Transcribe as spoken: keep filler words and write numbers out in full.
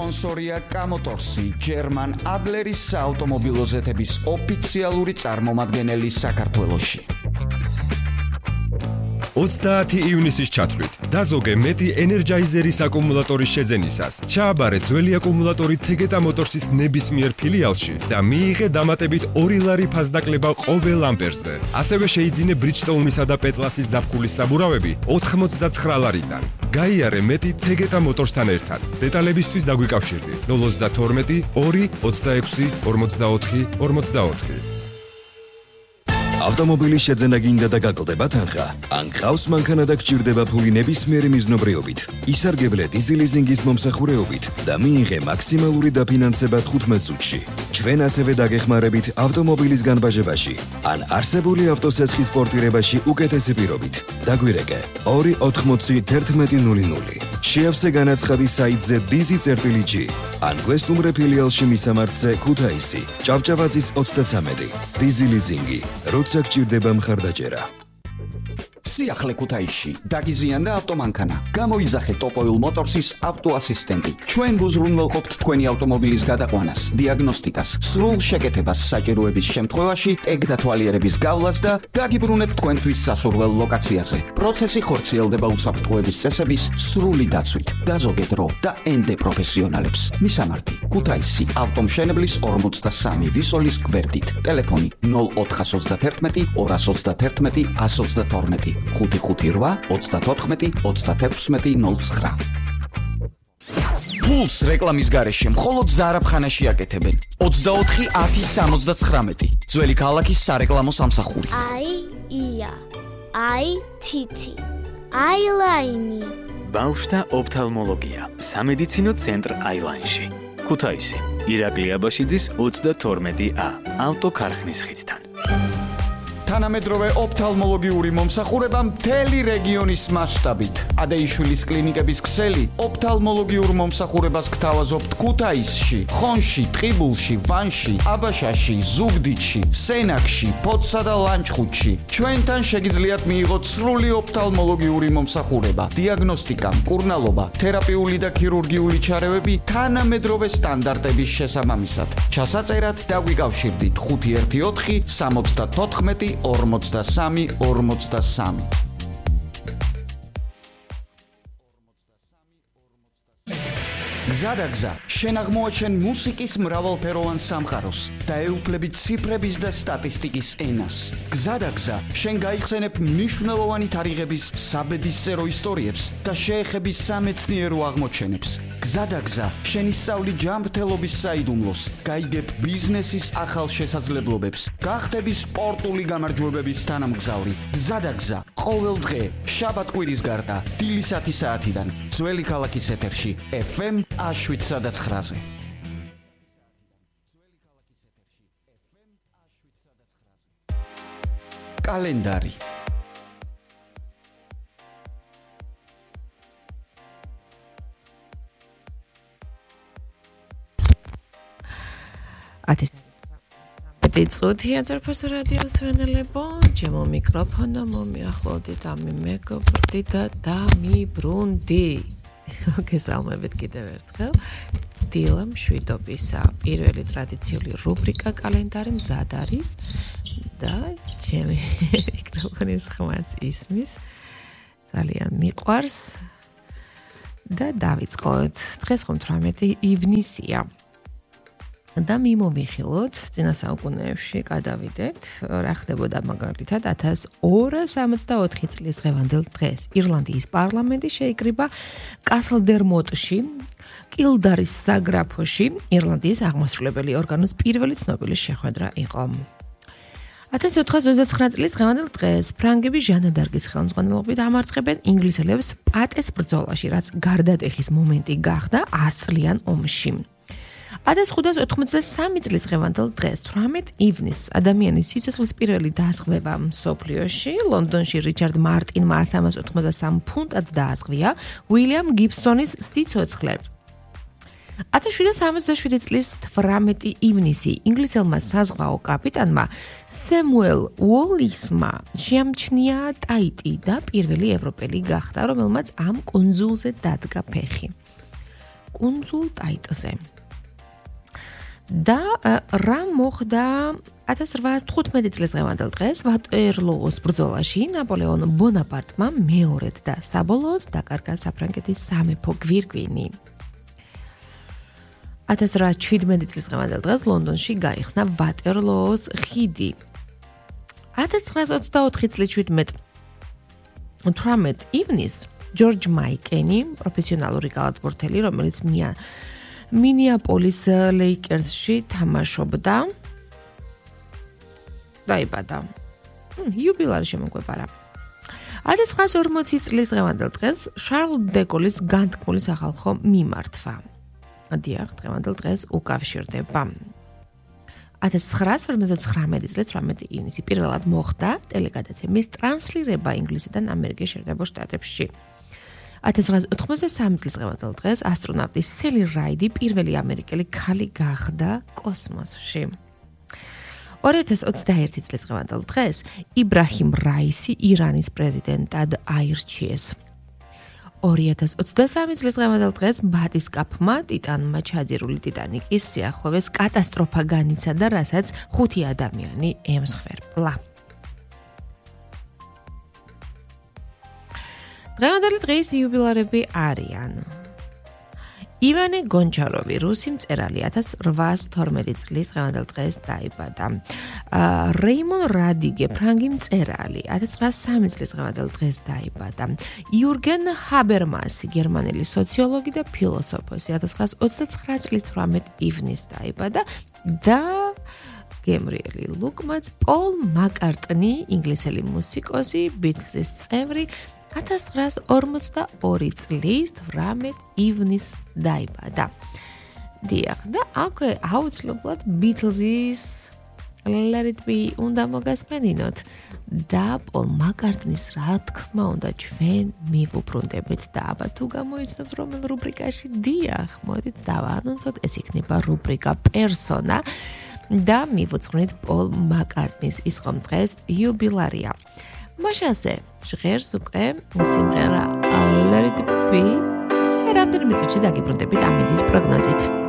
სპონსორია კამოტორსი, German Adleris საავტომობილო ზეთების ოფიციალური წარმომადგენელი საქართველოში. ოცდაათი ივნისის ჩათვლით დაზოგე მეტი ენერჯაიზერის აკუმულატორის შეძენისას. ჩააბარე ძველი აკუმულატორი თეგეტა მოტორსის ნებისმიერ ფილიალში და მიიღე დამატებით ორი ლარი ფასდაკლება ყოველ ამპერზე. ასევე შეიძინე Bridgestone-ისა და Petlas-ის ზაფხულის საბურავები ოთხმოცდაცხრა ლარიდან. გაიარე მეტი თეგეტა მოტორსთან ერთად. დეტალებისთვის დაგვიკავშირდი ნულ ოცდათორმეტი ორი ოცდაექვსი ორმოცდაოთხი ორმოცდაოთხი. ავტომობილის შეძენა გინდა და გაკლდება თანხა. ან გყავს მანქანა და გჭირდება ფული ნებისმიერი მიზნობრიობით. ისარგებლე დიზელიზინგის მომსახურეობით და მიიღე მაქსიმალური დაფინანსება თხუთმეტ წუთში. ჩვენ ასევე დაგეხმარებით ავტომობილის განბაჟებაში ან არსებული ავტოსესხის პორტირებაში უკეთესი პირობით. დაგვირეკე ორი ოთხმოცი თერთმეტი ნული ნული. შეავსე განაცხადი საიტზე dizi.gi ან გვესტუმრე ფილიალში მისამართზე ქუთაისი, ჭავჭავაძის ოცდათვრამეტი. დიზელიზინგი როცა გჭირდება მხარდაჭერა. სიახლე ქუთაისში დაგიზიანდა ავტომანქანა. გამოიძახე ტოპოილ მოტორსის ავტოასისტენტი. ჩვენ გუზრუნველყოფთ თქვენი ავტომობილის გადაყვანას, დიაგნოსტიკას, სრულ შეკეთებას საჭიროების შემთხვევაში, ტეგ დათვალიერების გავლას და დაგიბრუნებთ თქვენთვის სასურველ ლოკაციაზე. პროცესი ხორციელდება უსაფრთხოების წესების სრული დაცვით. დაზოგე დრო და ენდე პროფესიონალებს. მისამართი: ქუთაისი, ავტომშენებლის ორმოცდასამი ვისოლის გვერდით. ტელეფონი ნულ ოთხას ოცდათერთმეტი ორას ოცდათერთმეტი ას ოცდათორმეტი. ხუთი ხუთი რვა ოცდათოთხმეტი ოცდათექვსმეტი ნულ ცხრა. ფულს რეკლამის გარეშე მხოლოდ ზარაფხანაში აკეთებენ. ოცდაოთხი ათი სამოცდაცხრამეტი. ძველი ქალაქის სარეკლამო სამსახური. აი ია, აი თითი, აილაინი. ბავშვთა ოფთალმოლოგია. სამედიცინო ცენტრ აილაინში. ქუთაისი, ირაკლი აბაშიძის ოცდათორმეტი ა. ავტოქარხნის ხიდთან. თანამედროვე ოფთალმოლოგიური მომსახურება მთელი რეგიონის მასშტაბით. ადეიშვილის კლინიკების ქსელი ოფთალმოლოგიურ მომსახურებას გთავაზობთ ქუთაისში, ხონში, ტყიბულში, ვანში, აბაშაში, ზუგდიდში, სენაკში, ფოთსა და ლანჩხუთში. ჩვენთან შეგიძლიათ მიიღოთ სრული ოფთალმოლოგიური მომსახურება, დიაგნოსტიკა, მკურნალობა, თერაპიული და ქირურგიული ჩარევები თანამედროვე სტანდარტების შესაბამისად. ჩასაწერად დაგვიკავშირდით ხუთი ერთი ოთხი სამოცდათოთხმეტი ორმოცდასამი ორმოცდასამი. გზადაგზა, შენ აღმოაჩენ მუსიკის მრავალფეროვან სამყაროს და ეუფლებით ციფრების და სტატისტიკის ენას. გზადაგზა, შენ გაიხსენებ მნიშვნელოვანი თარიღების საბედისწერო ისტორიებს და შეეხები სამეცნიერო აღმოჩენებს. გზადაგზა, შენ ისწავლი ჯანმრთელობის საიდუმლოს, გაიგებ ბიზნესის ახალ შესაძლებლობებს, გახდები სპორტული გამარჯვებების თანამგზავრი. გზადაგზა, ყოველ დღე, შაბათ-კვირის გარდა, დილის ათი საათიდან, ძველი ქალაქის ეთერში, ეფ ემ შვიდ ცხრაზე. კალენდარი. წუთია ძერფოს რადიოს ვენელებო, ჩემო მიკროფონო მომიახლოვდით, ამი მეგობრდი და დამიბრუნდი. გესალმებით კიდევ ერთხელ. დილა მშვიდობისა. პირველი ტრადიციული რუბრიკა კალენდარი მზად არის და ჩემი მიკროფონის ხმაც ისმის. ძალიან მიყვარს და დავიწყოთ. დღეს თხუთმეტი ივნისია. და მიმომიხილოთ, წინა საუკუნეებში გადავიდეთ, რა ხდებოდა მაგალითად ათას ორას ორმოცდაოთხი წლის დღევანდელ დღეს. ირლანდიის პარლამენტი შეიკრიბა კასლდერმოტში, კილდარის საგრაფოში, ირლანდიის აღმასრულებელი ორგანოს პირველი ცნობილი შეხვედრა იყო. ათას ოთხას ოცდაცხრა წლის დღევანდელ დღეს ფრანგები ჟანა დარკის ხელმძღვანელობით ამარცხებენ ინგლისელებს პატეს ბრძოლაში, რაც გარდატეხის მომენტი გახდა ასწლიან ომში. ათას ხუთას ოთხმოცდასამი წლის დღევანდელ დღეს თვრამეტ ივნისს ადამიანის სიცოცხლის პირველი დაზღვევა მსოფლიოში ლონდონში რიჩარდ მარტინმა სამას ოთხმოცდასამ ფუნტად დააზღვია უილიამ გიბსონის სიცოცხლე. ათას შვიდას სამოცდაშვიდი წლის თვრამეტი ივნისი ინგლისელმა საზღვაო კაპიტანმა სემუელ უოლისმა შეამჩნია ტაიტი და პირველი ევროპელი გახდა, რომელმაც ამ კუნძულზე დადგა ფეხი. კუნძულ ტაიტზე. და რა მოხდა ათას რვაას თხუთმეტი წლის დღევანდელ დღეს ვატერლოოს ბრძოლაში ნაპოლეონ ბონაპარტმა მეორედ და საბოლოოდ დაკარგა საფრანგეთის სამეფო გვირგვინი. ათას რვაას შვიდმეტი წლის დღევანდელ დღეს ლონდონში გაიხსნა ვატერლოოს ხიდი. ათას ცხრაას ოცდაოთხი წლის თვრამეტ ივნის ჯორჯ მაიკენი, პროფესიონალური კალათბურთელი, რომელიც მია მინეაპოლის ლეიკერსში თამაშობდა, დაიბადა. იუბილარი შემოგვეპარა. ათას ცხრაას ორმოცი წლის დღევანდელ დღეს შარლ დე გოლის განთქმული სახალხო მიმართვა. დიახ, დღევანდელ დღეს უკავშირდება. ათას ცხრაას ორმოცდაცხრამეტი წლის თვრამეტი ივნისი პირველად მოხდა ტელეგადაცემის ტრანსლირება ინგლისიდან ამერიკის შეერთებულ შტატებში. ათას ცხრაას ოთხმოცდასამი წლის დღევანდელ დღეს ასტრონავტი სელი რაიდი პირველი ამერიკელი ქალი გახდა კოსმოსში. ორი ათას ოცდაერთი წლის დღევანდელ დღეს იბრაჰიმ რაისი ირანის პრეზიდენტად აირჩიეს. ორი ათას ოცდასამი წლის დღევანდელ დღეს ბატისკაფმა ტიტანმა ჩაძირული ტიტანიკის სიახლოვეს კატასტროფა განიცადა, რასაც ხუთი ადამიანი ემსხვერპლა. დღევანდელი დღის იუბილარები არიან ივანე გონჩაროვი, რუსი მწერალი, ათას რვაას თორმეტი წლის დღევანდელ დღეს დაიბადა. რეიმონ რადიგე, ფრანგი მწერალი, ათას ცხრაას სამი წლის დღევანდელ დღეს დაიბადა. იურგენ ჰაბერმასი, გერმანელი სოციოლოგი და ფილოსოფოსი, ათას ცხრაას ოცდაცხრა წლის თვრამეტი ივნის დაიბადა და გემრიელი ლუკმაც, პოლ მაკარტნი, ინგლისელი მუსიკოსი, ბიტლზის წევრი, ათას ცხრაას ორმოცდაორი წლის თვრამეტი ივნის დაიბადა. დიახ, და აქვე აუცილებლად ბიტლზის Let It Be უნდა მოგასმენინოთ და პოლ მაკარტნის რა თქმა უნდა ჩვენ მივუბრუნდებით და აბა თუ გამოიცნობთ რომელ რუბრიკაში, დიახ, მოდით დავაანონსოთ, ეს იქნება რუბრიკა პერსონა და მივუძღვნით პოლ მაკარტნის ის ხომ დღეს იუბილარია. მაშასე ჟღერს უკვე სიმღერა Let It Be. რამდენიმე წუთში დაგიბრუნდებით ამინდის პროგნოზით.